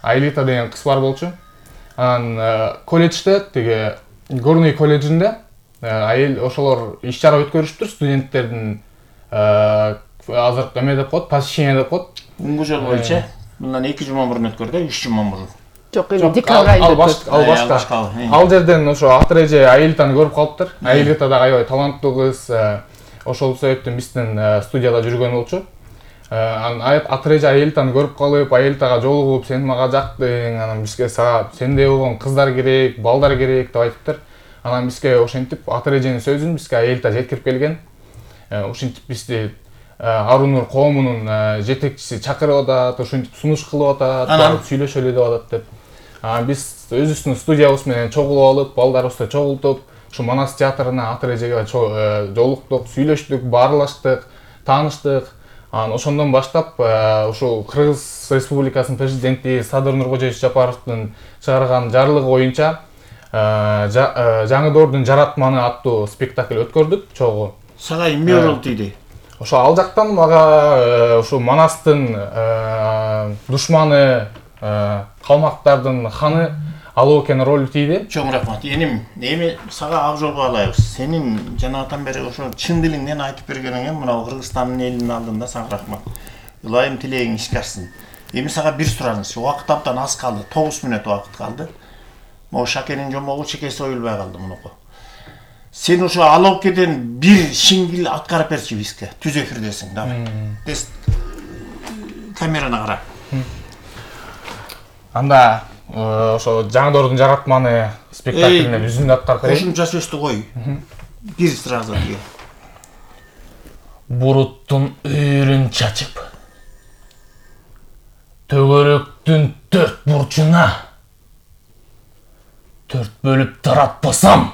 Аэлита деген кыз бар болчу. Анан колледжде тиги Горный колледжинде айыл ошолор иш чара өткөрүшүптүр, студенттердин азыр эме деп коет, посещение деп коет. Бүгүнкү жолу боюнча мындан 2 жума мурун өткөрдү, 3 жума мурун. Жок, эми декабрь айында ал башка. Ал жерден ошо Атыреже Аэлитаны көрүп калыптыр. Аэлита да аябай таланттуу кыз. Ошол себептен биздин студияда жүргөн болчу. Анан Атыреже Аэлитаны көрүп калып, Аэлитага жолугуп, сен мага жактың, анан бизге сендей болгон кыздар керек, балдар керек деп айтыптыр. Анан бизге ошентип Атыреженин сөзүн бизге Аэлита жеткирип келген. Ошентип бизди Арунур коомунун жетекчиси чакырып атат, ошентип сунуш кылып атат, сүйлөшөлү деп атат деп. Биз өзүбүздүн студиябыз менен чогулуп алып, балдарыбызды чогултуп, ушу Манас театрына Атырежеге жолуктук, сүйлөштүк, баарлаштык, тааныштык. Анан ошондон баштап ушу Кыргыз Республикасынын президенти Садыр Нуркожоевич Жапаровдун чыгарган жарлыгы боюнча Жаңы Доордун жаратманы аттуу спектакль өткөрдүк чогуу. Сага эмне болду дейди? Ошо ал жактан мага ушу Манастын душманы, калмактардын ханы Алоокен ролу тийди. Чоң рахмат. Эми сага ак жол каалайбыз. Сенин жанагатан бери ошо чын дилиңден айтып бергениңе мына Кыргызстандын элинин алдында сага рахмат. Ылайым тилегиң ишке ашсын. Эми сага бир сураныч. Убакыт абдан аз калды. 9 мүнөт убакыт калды. Могу Шакенин жомогу чекеси оюлбай калды мунуку. Сен ошо Алоокеден бир шингил аткарып берчи бизге. Түз эфирдесиң, давай. Тез камераны кара. Анда ошо Жаңы Доордун жаратманы спектаклине үзүндү аткарып берейин. Кошумча сөздү кой. Бир сразу диye. Буруттун үйрүн чачып, төгөрөктүн 4 бурчуна 4 бөлүп таратпасам,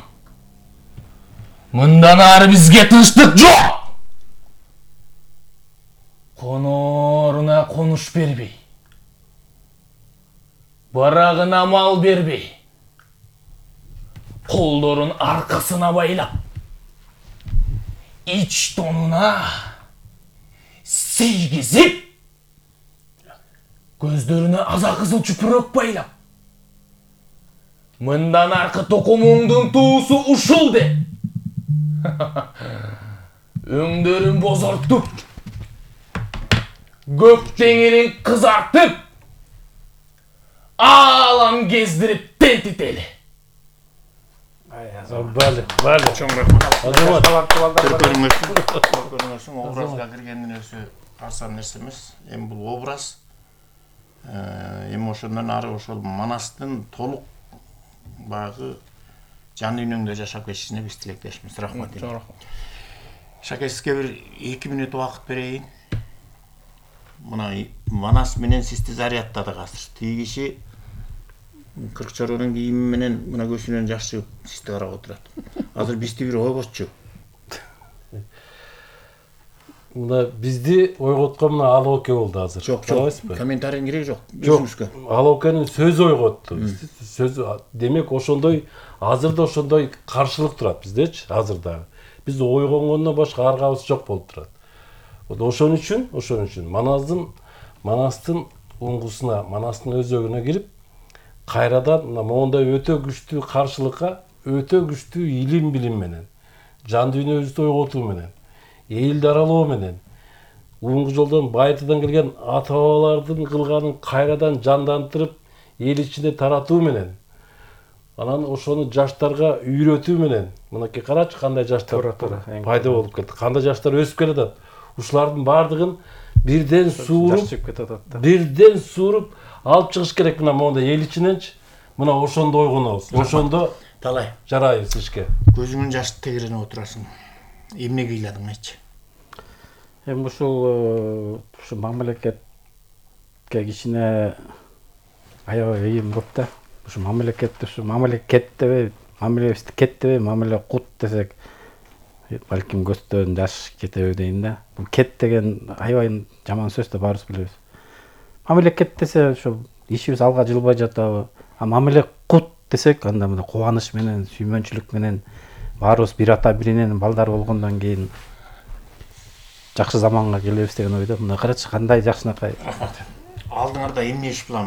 мындан ары бизге тынчтык жок. Конооруна конуш бербей, барагына мал бербей, колдорун аркасына байлап, ич тонуна сейгизип, көздөрүнө аза кызыл чүпүрөк байлап, мындан аркы токумуңдун туусу ушул деп, өңдөрүн бозортуп, көк теңирин кызартып, аалам кездирип тентители. Бали. Чоң рахмат. Көрүңүз, образга киргендин өзү арзан нерсе эмес. Эми бул образ. Эми ошондон ары ошол Манастын толук багы жан дүйнөңдө жашап кетишине биз тилектешмиз. Рахмат. Чоң рахмат. Шаке, сизге бир 2 мүнөт убакыт берейин. Мына Манас менен сизди зарядтады азыр. Тиги киши Кыркчоронун кийими менен мына көзүнөн жаш чыгып сизди карап отурат. Азыр бизди бир ойготчу. Мына бизди ойготкон мына Алооке болду азыр. Жок, комментарийин кереги жок. Жок, Алоокенин сөзү ойготту. Сөзү демек ошондой азыр да ошондой каршылык турат биздечи, азыр дагы. Биз ойгонгондон башка аргабыз жок болуп турат. Ошон үчүн Манастын уңгусуна, Манастын өзөгүнө кирип, кайрадан мондай өтө күчтүү каршылыкка, өтө күчтүү илим менен, жан дүйнөбүздү ойготуу менен, элди аралоо менен, уңгу жолдон Байтыдан келген ата-бабалардын кылганын кайрадан жандантырып, эл ичинде таратуу менен, анан ошону жаштарга үйрөтүү менен, мынакей карачы кандай жаштар пайда болуп кетти, кандай жаштар өсүп келатат. Ушулардын бардыгын бирден сууруп алып чыгыш керек мына мондай эл ичиненчи. Мына ошондо ойгонобуз. Ошондо талай жарайбыз ишке. Көзүңүн жашы тегерене отурасың. Эмне кыйладың айтчы? Эми ушу мамлекетке кичине аябай ыйым көп да. Ушу мамлекет дебей, мамилебизди кет дебей, мамиле кут десек, балким көстөн жаш кетеби дейин да. Бул кет деген аябай жаман сөз да баарыбыз билебиз. Мамлекет десе ошо ишибиз алга жылбай жатабы. А мамиле кут десек, анда мына кубаныч менен, сүймөнчүлүк менен баарыбыз бир ата биринен балдар болгондон кийин жакшы заманга келебиз деген ойдо. Мына карачы кандай жакшынакай. Алдыңарда эмне иш план бар?